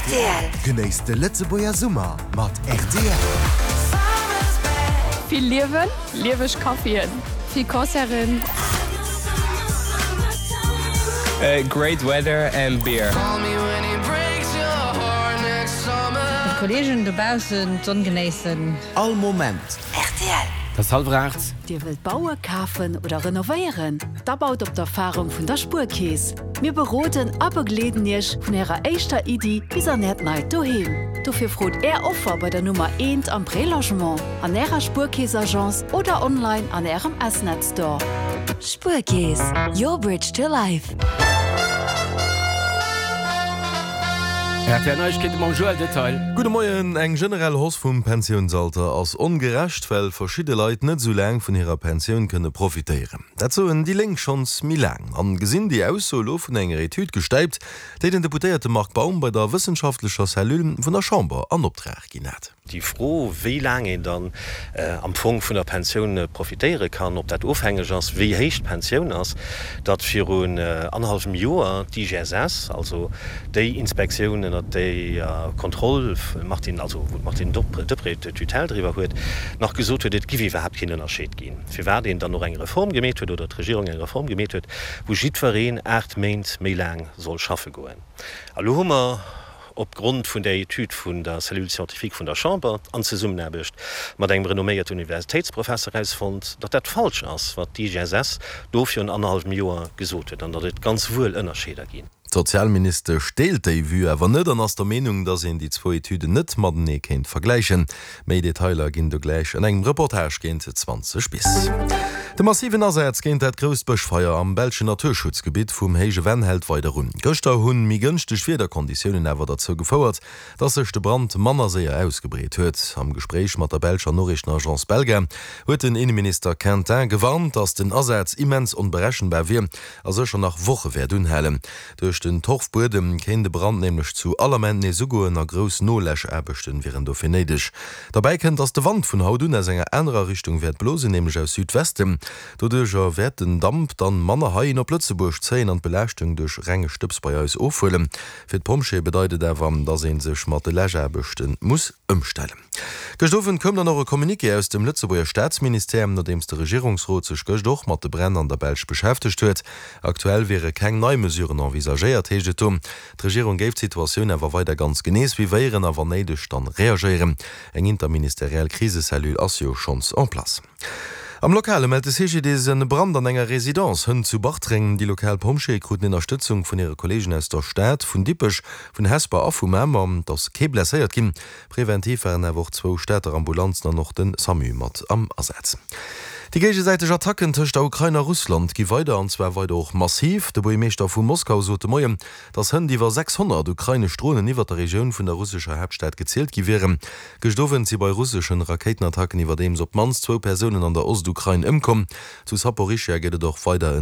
Rtl. Genéisst de Lëtzebuerger Summer mat rtl. Vill Liewen, lieweg Caféen, vill Concerten. Great weather and beer. Mat Kollegen dobaussen d'Sonn genéissen. All Moment. Rtl. Et ass hallwer 8. Dir wëllt baue, kafen oder renovéieren? Da baut op d'Erfarung vun der Spuerkeess. Mir beroden a begleeden Iech vun Ärer éischter Iddi bis an Äert neit Doheem. Dofir frot Är Offer bei der Nummer eent am Prélogement, an Ärer Spuerkeess-Agence oder online an Ärem S-Net Store. Spuerkeess, your bridge to life. RTL Neiegkeete mam Joël Detail. Gudde Moien. Eng generell Hausse vum Pensiounsalter ass ongerecht, well verschidde Leit net esou laang vun hirer Pensioun kënne profitéieren. Dat soen déi Lénk schonns méi laang an gesinn déi Ausso elo vun enger Etüd gestäipt, déi den Deputéierte Marc Baum bei der wëssenschaftlecher Cellule vun der Chamber an Optrag ginn hat. Déi Fro, wéi laang een dann am Fong vun der Pensioun profitéiere kann, ob dat ofhängeg ass, wéi héich d'Pensioun ass, datt virun annerhallwem Joer d'IGSS, also déi Inspektioun, ënnert déier Kontroll Martine, also wou d'Martine Deprez d'Tutelle driwwer huet, nach gesot huet, et giff iwwerhaapt keen Ënnerscheed ginn, firwat een dann och eng Reform gemeet huet, oder d'Regierung eng Reform gemeet huet, wou jiddwereen 8 Méint méi laang soll schaffe goen. A lo hu mer op Grond vun där Etüd vun der Cellule scientifique vun der Chamber an Zesummenaarbecht mat engem renomméierte Universitéitsprofesser erausfonnt, datt dat falsch ass, wat d'IGSS do virun annerhallwem Joer gesot huet an datt et ganz wuel Ënnerscheeder ginn. D'Sozialministesch deelt déi Vue awer net an ass der Meenung, datt een déi zwou Etüden net matenee kéint vergläichen. Méi Detailer ginn do gläich an engem Reportage géint 20 bis. De massiven Asaz géint dat grousst Bëschfeier am belschen Naturschutzgebitt vum Héije Venn hält weider un. Gëschter hunn méi gënschteg Wiederkonditiounen awer derzou gefouert, dass sech de Brand manner séier ausgebreet huet. Am Gespréich mat der belscher Noriichtenagence Belga huet den Inneminister Quintin gewarnt, dass den Asaz immens onberechenbar wier a sécher nach Woche wäert unhalen. Duerch den Torfbuedem kéint e Brand nämlech zu all Ament nees ugoen a grouss Noläschaarbechten wieren dofir néideg. Derbäi kënnt, dass de Wand vun haut un aus enger anerer Richtung wäert blosen, nämlech aus Südwesten. Doduercher wäert den Damp dann manner heihin op Lëtzebuerg zéien an d'Belaaschtung duerch renge Stëbs bei eis ofhuelen. Fir d'Pompjeeë bedeit et awer, dass ee sech mat de Läschaarbechte muss ëmstellen. Gëscht Owend koum dann och e Communiqué aus dem Lëtzebuerger Staatsministère, nodeems de Regierungsrot sech gëscht och mat de Bränn an der Belsch beschäftegt huet. Aktuell wiere keng nei Mesuren envisagéiert, heescht et do. D'Regierung géif d'Situatioun awer weider ganz genee suivéieren a wann néideg dann reagéieren. Eng interministeriell Krisecellule ass jo schonns en place. Am Lokale mellt de CGDIS en Brand an enger Residence hënt zu Bartreng. Déi lokal Pompjeeë kruten Ënnerstëtzung vun hire Kolleegen aus der Stad, vun Dippech, vun Hesper a vu Mamer. Et ass kee blesséiert ginn. Preventiv waren awer och zwou Stater Ambulanzen an och de Samu mat am Asaz. Déi géigesäiteg Attacken tëscht der Ukrain a Russland gi weider, an zwar weider och massiv. De Buergermeeschter vu Moskau sot de Moien, datt hënt iwwer 600 ukrainesch Dronen iwwer der Regioun vun der russescher Haaptstad gezielt gi wieren. Gëscht Owend si bei russeschen Rakéitenattacken iwwerdeems op d'mannst zwou Persounen an der Ostukrain ëmkomm. Zu Saporischschja gëtt et och weider en.